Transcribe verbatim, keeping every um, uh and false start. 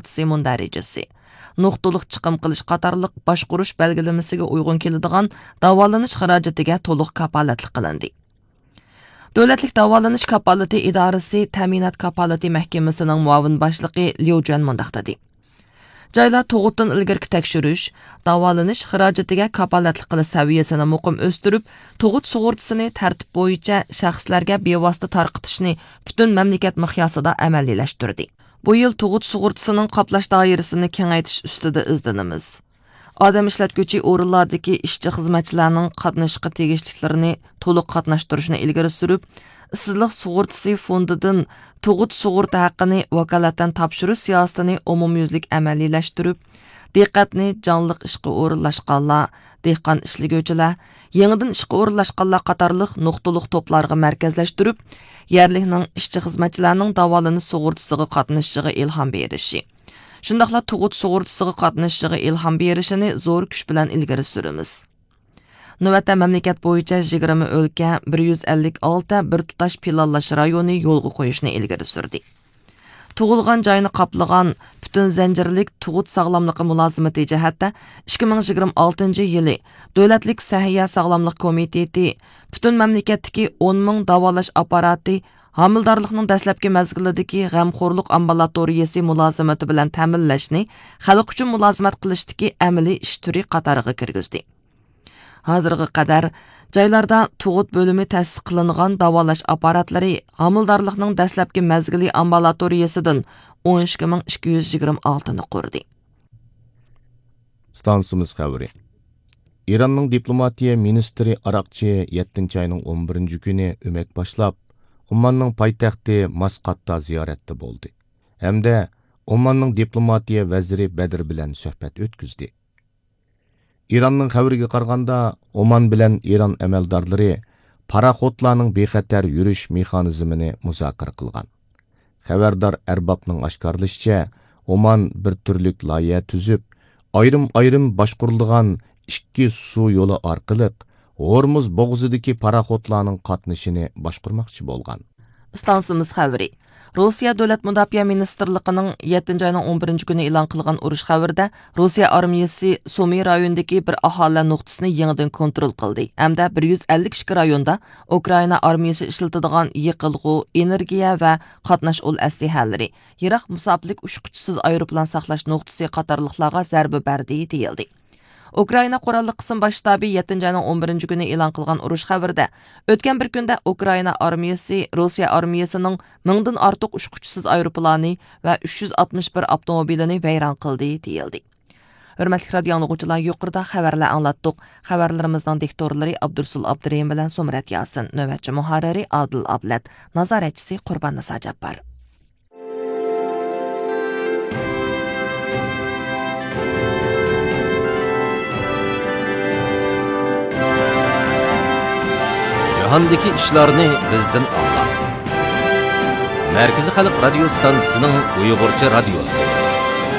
سۇغۇرتىسى مۇندەرىجىسى، نۇقتىلىق چىقىم قىلىش قاتارلىق باشقۇرۇش بەلگىلىمىسىگە ئۇيغۇن كېلىدىغان داۋالىنىش خىراجىتىگە تولۇق كاپالەتلىك قىلىندى. دۆلەتلىك داۋالىنىش كاپالىتى ئىدارىسى تەمىنات كاپالىتى مەھكىمىسىنىڭ مۇئاۋىن باشلىقى ليۇ جۈەن مۇنداق دېدى: جايلار تۇغۇتتىن ئىلگىرىكى تەكشۈرۈش، داۋالىنىش خىراجىتىگە كاپالەتلىك قىلىش سەۋىيەسىنى مۇقىم ئۆستۈرۈپ، تۇغۇت سۇغۇرتىسىنى تەرتىپ بويىچە شەخسلەرگە بىۋاسىتە تارقىتىشنى پۈتۈن مەملىكەت مىقياسىدا ئەمەلىيلەشتۈردى. بۇ يىل تۇغۇت سۇغۇرتىسىنىڭ قاپلاش دائىرىسىنى كېڭەيتىش ئۈستىدە ئىزدىنىمىز. ئادەم ئىشلەتكۈچى ئورۇنلاردىكى ئىشچى-خىزمەتچىلەرنىڭ قاتنىشىشقا تېگىشلىكلىرىنى تولۇق قاتناشتۇرۇشنى ئىلگىرى سۈرۈپ، ئىشسىزلىق سۇغۇرتىسى فوندىدىن تۇغۇت سۇغۇرتا ھەققىنى ۋاكالىتەن تاپشۇرۇش سىياسىتىنى ئومۇميۈزلۈك ئەمەلىيلەشتۈرۈپ، دىققەتنى جانلىق ئىشقا ئورۇنلاشقانلار، دېھقان ئىشلىگۈچىلەر، يېڭىدىن ئىشقا ئورۇنلاشقانلار قاتارلىق نۇقتىلىق توپلارغا مەركەزلەشتۈرۈپ، يەرلىكنىڭ ئىشچى-خىزمەتچىلەرنىڭ داۋالىنىش سۇغۇرتىسىغا قاتنىشىشىغا ئىلھام بېرىشى، شۇنداقلا تۇغۇت سۇغۇرتىسىغا قاتنىشىشىغا ئىلھام بېرىشىنى زور كۈچ بىلەن ئىلگىرى سۈرىمىز. نۆۋەتتە مەملىكەت بويىچە يىگىرمە ئۆلكە، بىر يۈز ئەللىك ئالتە بىر تۇتاش پىلانلاش رايونى يولغا قويۇشنى ئىلگىرى سۈردى. تۇغۇلغان جاينى قاپلىغان پۈتۈن زەنجىرلىك تۇغۇت ساغلاملىقى مۇلازىمىتى جەھەتتە ئىككى مىڭ يىگىرمە ئالتىنچى يىلى دۆلەتلىك سەھىيە ساغلاملىق كومىتېتى پۈتۈن مەملىكەتتىكى ئون مىڭ داۋالاش ئاپپاراتى ھامىلىدارلىقنىڭ دەسلەپكى مەزگىلىدىكى غەمخورلۇق ئامبۇلاتورىيىسى مۇلازىمىتى بىلەن تەمىنلەشنى خەلق ئۈچۈن مۇلازىمەت قىلىشتىكى ئەمەلىي ئىش تۈرى قاتارىغا كىرگۈزدى. ھازىرغا قەدەر جايلاردا تۇغۇت بۆلۈمى تەسىس قىلىنغان داۋالاش ئاپپاراتلىرى ھامىلىدارلىقنىڭ دەسلەپكى مەزگىلى ئامبۇلاتورىيىسىدىن ئون ئىككى مىڭ ئىككى يۈز يىگىرمە ئالتىنى قۇردى. ئىستانسىمىز خەۋىرى. ئىراننىڭ دىپلوماتىيە مىنىستىرى ئاراقچى يەتتىنچى ئاينىڭ ئون بىرىنچى كۈنى ئۆمەك باشلاپ، ئوماننىڭ پايتەختى ماسقاتتا زىيارەتتە بولدى ھەمدە ئوماننىڭ دىپلوماتىيە ۋەزىرى بەدر بىلەن سۆھبەت ئۆتكۈزدى. ئىراننىڭ خەۋىرىگە قارىغاندا، ئومان بىلەن ئىران ئەمەلدارلىرى پاراخوتلارنىڭ بىخەتەر يۈرۈش مېخانىزمىنى مۇزاكىرە قىلغان. خەۋەردار ئەربابنىڭ ئاشكارىلىشىچە، ئومان بىر تۈرلۈك لايىھە تۈزۈپ، ئايرىم-ئايرىم باشقۇرۇلىدىغان ئىككى سۇ يولى ئارقىلىق ھورمۇز بوغۇزىدىكى پاراخوتلارنىڭ قاتنىشىنى باشقۇرماقچى بولغان. ئىستانسىمىز خەۋىرى. روسىيە دۆلەت مۇداپىئە مىنىستىرلىقىنىڭ يەتتىنچى ئاينىڭ ئون بىرىنچى كۈنى ئېلان قىلغان ئۇرۇش خەۋىرىدە، روسىيە ئارمىيىسى سۇمى رايونىدىكى بىر ئاھالىلەر نۇقتىسىنى يېڭىدىن كونترول قىلدى ھەمدە بىر يۈز ئەللىك ئىككى رايوندا ئۇكرائىنا ئارمىيىسى ئىشلىتىدىغان يېقىلغۇ، ئېنېرگىيە ۋە قاتناش ئۇل ئەسلىھەلىرى، يىراق مۇساپىلىك ئۇچقۇچىسىز ئايروپىلان ساقلاش نۇقتىسى قاتارلىقلارغا زەربە بەردى، دېيىلدى. ئۇكرائىنا قوراللىق قىسىم باش شتابى يەتتىنچى ئاينىڭ ئون بىرىنچى كۈنى ئېلان قىلغان ئۇرۇش خەۋىرىدە، ئۆتكەن بىر كۈندە ئۇكرائىنا ئارمىيىسى روسىيە ئارمىيىسىنىڭ مىڭدىن ئارتۇق ئۇچقۇچىسىز ئايروپىلانى ۋە ئۈچ يۈز ئاتمىش بىر ئاپتوموبىلىنى ۋەيران قىلدى، دېيىلدى. ھۆرمەتلىك رادىئو ئاڭلىغۇچىلار، يۇقىرىدا خەۋەرلەر ئاڭلاتتۇق. خەۋەرلىرىمىزنىڭ دىكتورلىرى ئابدۇرسۇل ئابدۇرېھىم بىلەن زۇمرەت ياسىن، نۆۋەتچى مۇھەررىرى ئادىل ئابلەت، نازارەتچىسى قۇرباننىسا جاپپار. جاھاندىكى ئىشلارنى بىزدىن ئاڭلاڭ. مەركىزىي خەلق رادىيو ستانسىسىنىڭ ئۇيغۇرچە رادىيوسى.